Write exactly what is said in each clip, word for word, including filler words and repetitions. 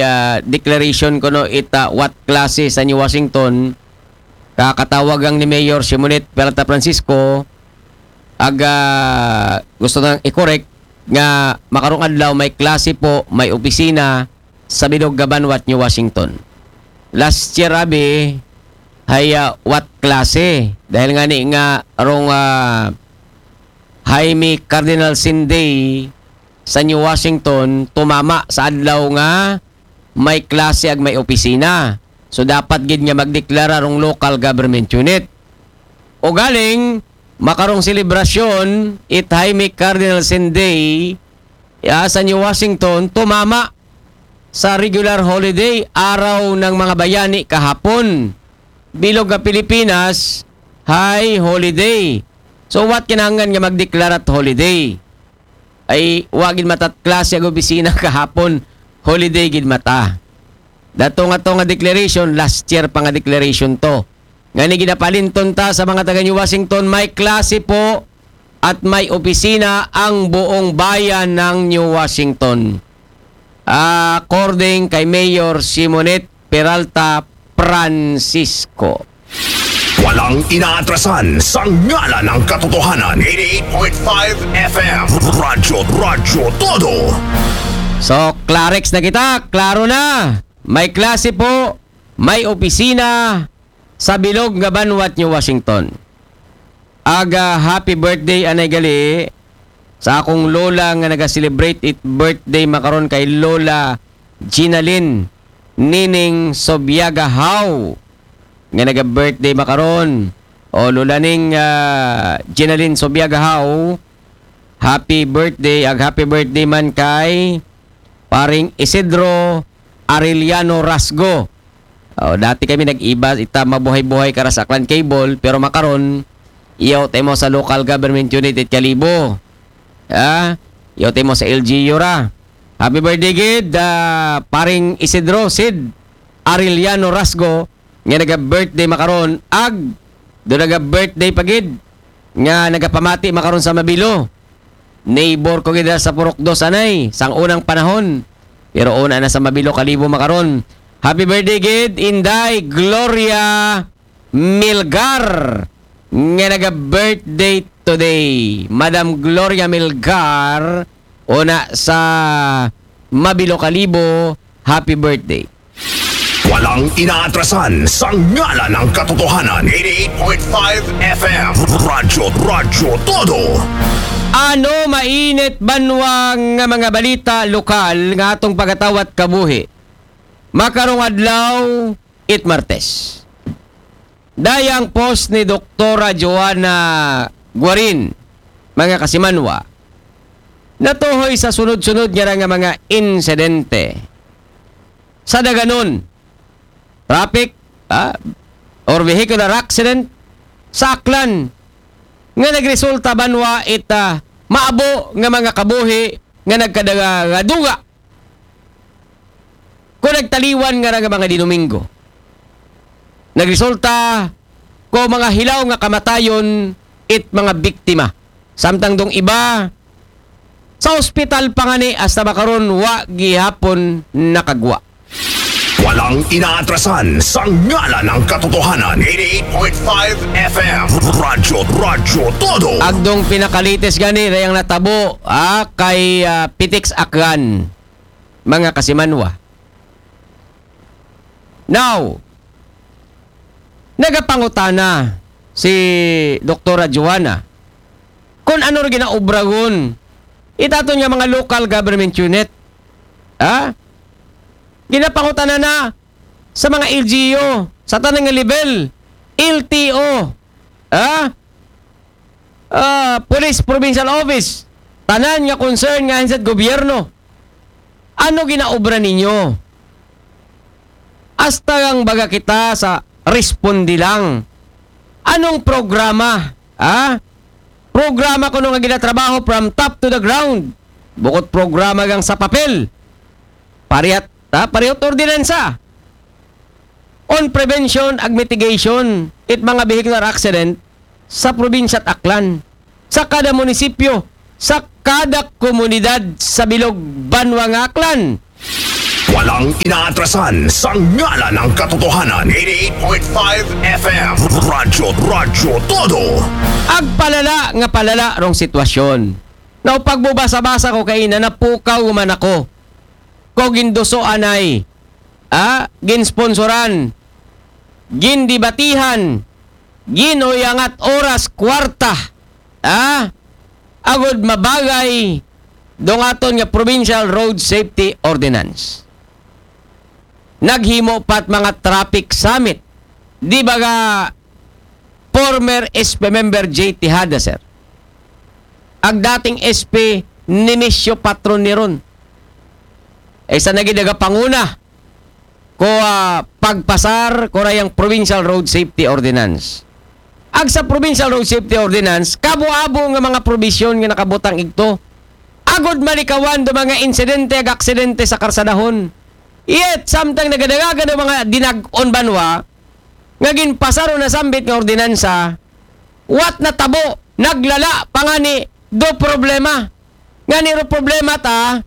ah, declaration kuno ita what klase sa New Washington, kakatawagan ni Mayor Simonette Peralta Francisco, ag, ah, gusto nang i-correct nga makarong adlaw may klase po, may opisina sa bilog nga banwat New Washington. Last year, abi, hay, ah, what klase? Dahil nga ni nga rong, ah, Jaime Cardinal Sin Day sa New Washington, tumama sa adlaw nga may klase ag may opisina. So, dapat gid nga magdeklara rong local government unit. O galing, makarong selebrasyon, it Jaime Cardinal Sin Day, ya, sa New Washington, tumama sa regular holiday, Araw ng Mga Bayani kahapon. Bilog nga Pilipinas, hay holiday. So, what kinahanglan nga magdeklara't holiday? Ay, wa gid mata't klase ag opisina kahapon, holiday gid mata. Dato nga to nga declaration, last year pa nga declaration to. Nga ni ginapalinton ta sa mga taga New Washington, may klase po at may opisina ang buong bayan ng New Washington. According kay Mayor Simonette Peralta Francisco. Walang inaatrasan sa ngalan ng katotohanan. Eighty-eight point five F M. Radyo, Radyo Todo. So, Clarex na kita. Klaro na. May klase po, may opisina sa bilog nga banwat New Washington. Aga, happy birthday, anay gali, sa akong lola nga naga-celebrate it birthday makaron kay Lola Ginalyn Nining Sobiaga How, nga naga-birthday makaron. O, Lola Ning, ah, Ginalyn Sobiaga How, happy birthday. Ag happy birthday man kay paring Isidro Arellano Rasgo. O, dati kami nag-iba, ita mabuhay-buhay kara sa Aklan Cable, pero makaron, iyaw temo sa local government unit it Kalibo. Ha? Iyaw temo sa L G U ra. Happy birthday gid, ah, paring Isidro Sid Arellano Rasgo, nga naga-birthday makaron, ag do naga-birthday pa gid nga nagapamati makaron sa Mabilo. Neighbor ko gid sa Purok Dos anay, sang unang panahon. Pero una na sa Mabilo, Kalibo makaron. Happy birthday gid, Inday Gloria Milgar, nga naga-birthday today. Madam Gloria Milgar, una sa Mabilo, Kalibo, happy birthday. Walang inaatrasan sa ngalan ng katotohanan. Eighty-eight point five F M. Radyo, Radyo Todo. Ano mainit banwa nga mga balita lokal nga atong pagatawat kabuhi? Makarong adlaw, it Martes. Dayang post ni Doktora Joanna Guarin, mga kasimanwa, natuhoy sa sunod-sunod nga nga mga insidente sa daganon, traffic, ah, or vehicular accident sa Aklan nga nagresulta banwa it, ah, maabo nga mga kabuhi nga nagkadaduga ko nagtaliwan nga nga mga Dinomingo. Nagresulta ko mga hilaw nga kamatayon it mga biktima. Samtang dong iba sa ospital pa ngani hasta makaron wa gihapon nakagwa. Walang inaatrasan sa ngalan ng katotohanan. Eighty-eight point five F M. Radyo, Radyo Todo. Agdong pinakalites gani dayang natabo, ah, kay, ah, Pitex Aklan, mga kasimanwa. Now, nagapangutana si Doktora Joanna kung ano ra ginaobragon itaton nga mga local government unit. Ha? Ginapangutana na sa mga L G U, sa tanang nga level, L T O, ha? Ah, Police Provincial Office, tanan nga concern nga ahensya sa gobyerno. Ano ginaobra ninyo? Hasta ang baga kita sa responde lang. Anong programa? Ha? Programa kuno nga ginatrabaho from top to the ground. Bukod programa gang sa papel. Parehot, ha? Parehot ordinansa on prevention ag mitigation it mga vehicular accident sa probinsya at Aklan, sa kada munisipyo, sa kada komunidad sa bilog banwa nga Aklan. Walang inaatrasan sa ngalan ng katotohanan. Eighty-eight point five F M. Radyo, Radyo Todo. Agpalala nga palala rong sitwasyon. Now, pagbubasa-basa ko kaina, napukaw man ako. Ko ginduso anay. Ah, ginsponsoran. Gindibatihan. Ginuyangat oras kwarta. Ah, agod mabagay dong aton nga Provincial Road Safety Ordinance. Naghimo pat mga traffic summit. Di ba ga former S P member J Tejada, sir? Ag dating S P Nemesio Patron ni ron. Ay sa nagidagapanguna ko, ah, pagpasar ko rayang Provincial Road Safety Ordinance. Ag sa Provincial Road Safety Ordinance, kabo-abo nga mga probisyon nga nakabutang igto. Agod malikawan do mga insidente ag aksidente sa karsadahon. Yet, samtang nagadagagan do mga dinag-on banwa, nga ginpasar o nasambit nga ordinansa, what natabo, naglala pa nga ni do problema. Nga ni ro problema ta,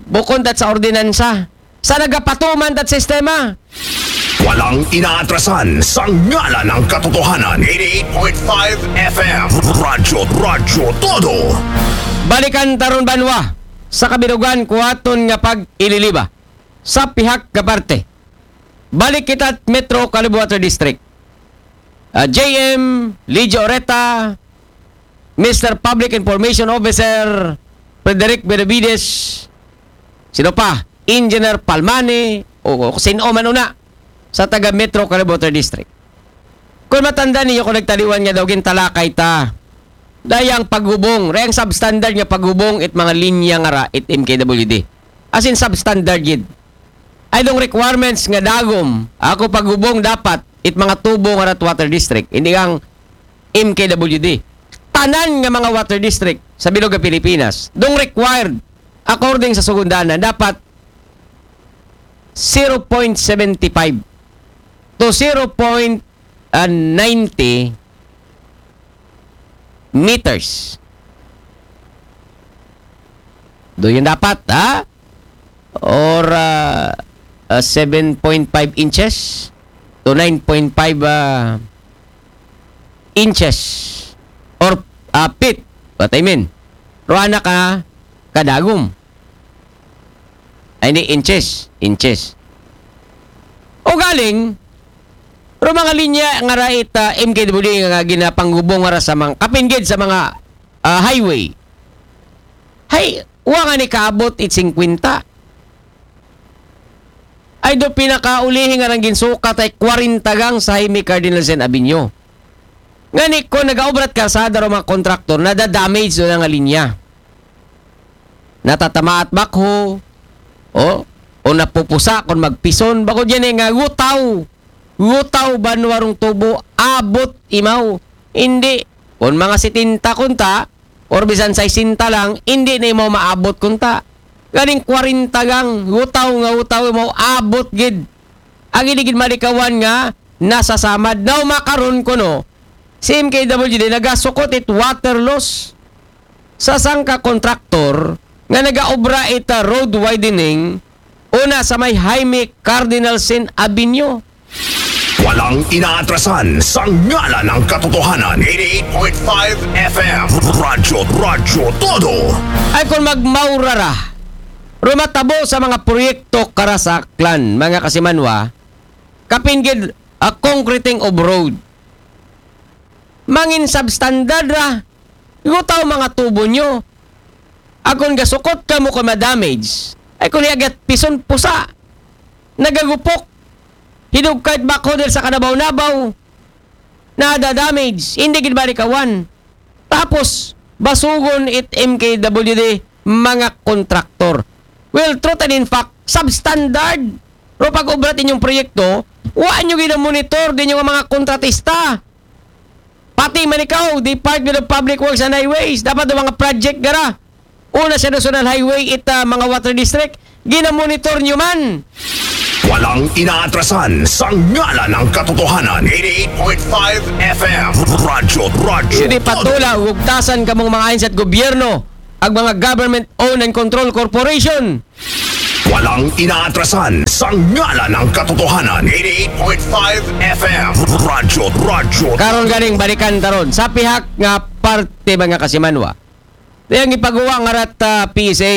bukon tat sa ordinansa. Sa nagapatuman tat sistema. Walang inaatrasan sa ngalan ng katotohanan. Eighty-eight point five F M. Radyo, Radyo Todo. Balikan taron banwa sa kabirugan kuwaton nga pag-ililiba sa pihak nga parte. Balik kita Metro Caloocan Water District. Ah, J M Ligio Oreta, Mister Public Information Officer Frederick Benavides, sino pa? Engineer Palmani, o, o sino man una sa taga Metro Caloocan Water District. Kung matanda niyo kung nagtaliwan nga daw gintalakay ta, dayang paghubong, rayang substandard nga paghubong it mga linya nga ra it M K W D. As in substandard gid. Ay dong requirements nga dagom, ako paghubong dapat it mga tubo nga rat water district, hindi ang M K W D. Tanan nga mga water district sa bilog nga Pilipinas, dong required according sa sugundanan, dapat zero point seven five to zero point ninety meters. Do yun dapat, ha? Or uh, uh, seven point five inches to nine point five uh, inches or uh, feet. What I mean? Ruana ka kadagom. Ay, hindi, inches. Inches. O galing, pero mga linya nga ra it uh, M K W D nga ginapanghubong nga ra sa mga kapinggid sa mga uh, highway. Hay, wa nga ni kaabot it singkwenta. Ay do pinakaulihi nga nang ginsukat ay kwarenta gang sa Jaime Cardinal Sin Avenue. Nga ni ko nagaobrat karsada ro mga kontraktor, nadadamage do na nga linya. Natatamaat bakho, o, o napupusa kung magpison, bako dyan eh nga gutaw. Gutaw ba nuwarong tubo, abot imaw. Hindi. Kung mga setenta kunta, or bisan sesenta lang, hindi na imaw maabot kunta. Ganing kwarenta gang, gutaw nga gutaw imaw, abot gid. Ang iligid malikawan nga, nasasamad. Now makaron ko no, si M K W D nagasukot it water loss sa sangka kontraktor nga nagaobra ita road widening una sa may Jaime Cardinal Sin Avenue. Walang inaatrasan sa ngalan ng katotohanan. Eighty-eight point five F M. Radyo, Radyo Todo. Ay kung magmaurara, rumatabo sa mga proyekto karasaklan, mga kasimanwa, kapinggid a concreting of road. Mangin substandard ra, gutaw mga tubo nyo. Akon gasukot ka mo kung ma-damage. Ay kung hiagat pison pusa. Nagagupok. Hidugkay bakho dahil sa kanabaw-nabaw. Nada-damage. Hindi gid balikawan. Tapos, basugon it M K W D mga kontraktor. Well, truth and in fact, substandard. Pero pag-obra inyong proyekto, wa nyo gina-monitor din yung mga kontratista. Pati man ikaw, Department of Public Works and Highways, dapat ang mga project gara. Una sa National Highway, ita mga water district, gina-monitor nyo man. Walang inaatrasan sa ngalan ng katotohanan. Eighty-eight point five F M. Radyo, Radyo. Hindi patula, ugtasan kamong mga ahensya at gobyerno, ang mga government-owned and controlled corporation. Walang inaatrasan sa ngalan ng katotohanan. Eighty-eight point five F M. Radyo, Radyo. Karon ganing balikan taron sa pihak nga parte ba nga kasimanwa. Dayang ipaguwa nga rat uh, P S A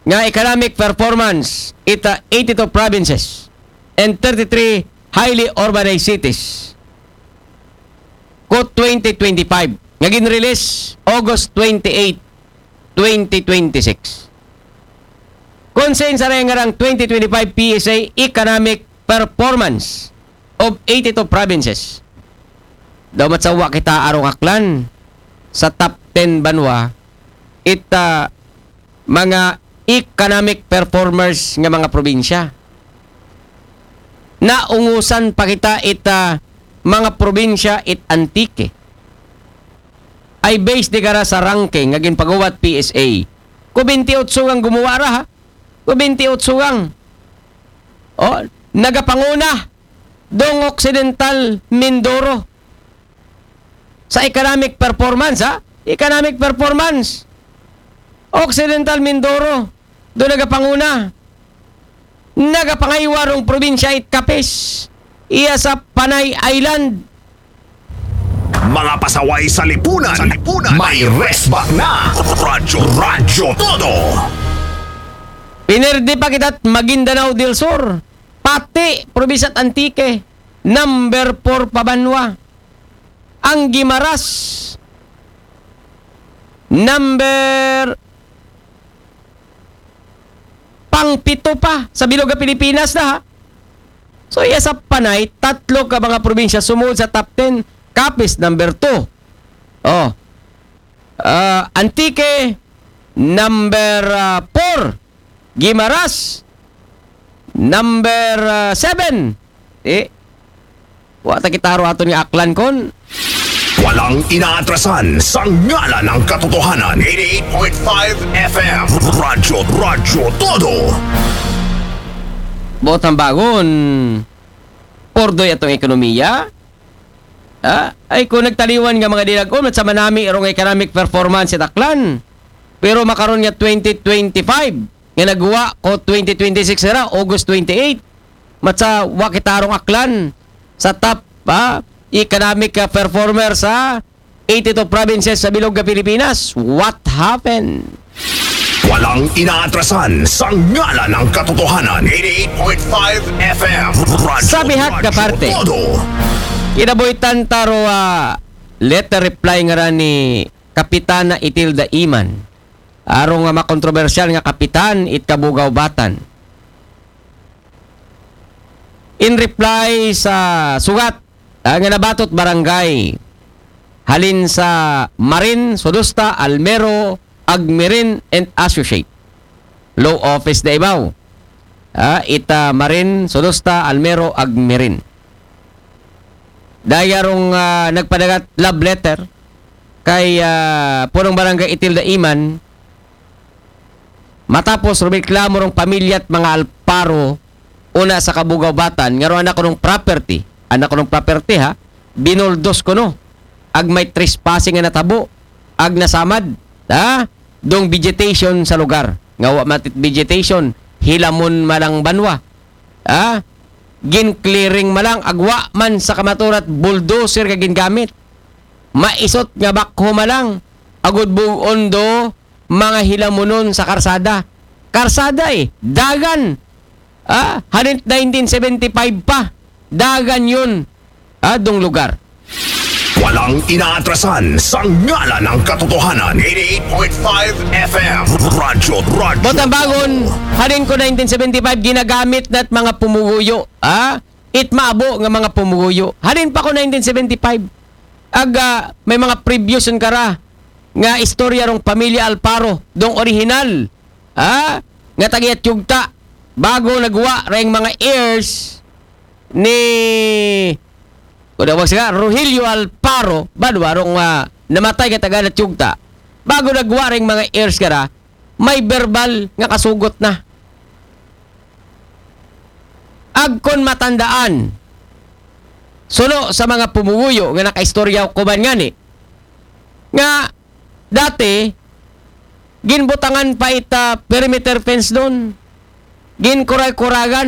nga economic performance ita eighty-two provinces and thirty-three highly urbanized cities ko twenty twenty-five nga ginrelease August twenty-eight, twenty twenty-six. Kung sa insaray nga rang twenty twenty-five P S A economic performance of eighty-two provinces. Daw matsawa kita arong aklan sa top ten banwa ita mga economic performers nga mga probinsya. Naungusan pa kita ita mga probinsya it Antique. Ay based di kara sa ranking nga ginpaguwat P S A. Ko twenty-eight ang gumuwa ra ha. Ko twenty-eight ang. Oh, nagapanguna dong Occidental Mindoro sa economic performance ha. Economic performance. Occidental Mindoro do nagapanguna. Nagapangaywa rong probinsya it Capiz. Iya sa Panay Island. Mga pasaway sa lipunan. Sa lipunan. May resback na. Radyo, Radyo Todo. Pinerde pa kita Maguindanao del Sur. Pati probinsya Antique. Number four pa banwa. Ang Guimaras. Number pang pito pa sa bilog nga Pilipinas na ha. So iya sa Panay, tatlo ka mga probinsya sumud sa top ten. Capiz number two. Oh. Uh, Antique number uh, four. Guimaras number uh, seven. Eh, wa ta kitaro aton nga aklan kon Walang inaatrasan sa ngalan ng katotohanan. Eighty-eight point five F M. Radyo, Radyo Todo. Botang bagon. Pordoy atong ekonomiya. Ah, ay ko nagtaliwan nga mga dilagon at sa manami rong economic performance sa Aklan. Pero makaron nga twenty twenty-five nga nagwa ko twenty twenty-six era August twenty-eight. Matsa wa kitarong Aklan sa top ha, economic uh, performer sa eighty-two provinces sa bilog nga Pilipinas. What happened? Walang inaatrasan sa ngalan ng katotohanan. Eighty-eight point five F M. Radyo, Sa bihag ka Radyo parte. Todo. Kinabuhitan taro uh, letter reply nga ra ni Kapitana Itilda Iman. Arong nga makontrobersyal nga kapitan it Kabugao-Batan. In reply sa sugat ah, nga nabatot barangay halin sa Marin Sodusta Almero Agmirin and Associate Law Office Davao. Ah, ita Marin Sodusta Almero Agmirin. Dayarong ah, nagpadagat love letter kay ah, punong barangay Itilda Iman matapos rumiklamo rong pamilya at mga Alparo una sa Kabugao-Batan nga ro anak kunong property, anak kunong property ha, binuldos kuno ag may trespassing nga natabo ag nasamad ha dong vegetation sa lugar nga wa matit vegetation hilamon malang banwa ha gin clearing malang agwa man sa kamaturat bulldozer nga gingamit maisot nga bakho malang agud bugon do mga hilamunon sa karsada. Karsada eh, dagan. Ah, halin nineteen seventy-five pa, dagan yun. Ah, dong lugar. Walang inaatrasan sa ngalan ng katotohanan. Eighty-eight point five F M. Radyo, Radyo. Botang bagon, halin ko nineteen seventy-five, ginagamit na't mga pumuguyo. Ah, it maabo nga mga pumuguyo. Halin pa ko nineteen seventy-five. Aga, may mga previous kara nga istorya rong pamilya Alparo, dong original. Ha? Nga tagiat yugta. Bago nagwa ring mga heirs ni kuda wag siya Rogelio Alparo, badwa rong uh, namatay nga taga Natyugta. Bago nagwa ring mga heirs kara, may verbal nga kasugot na. Agkon matandaan, suno sa mga pumuguyo nga nakaistorya ko man ngani, nga dati, ginbutangan pa ita perimeter fence doon. Gin koray koragan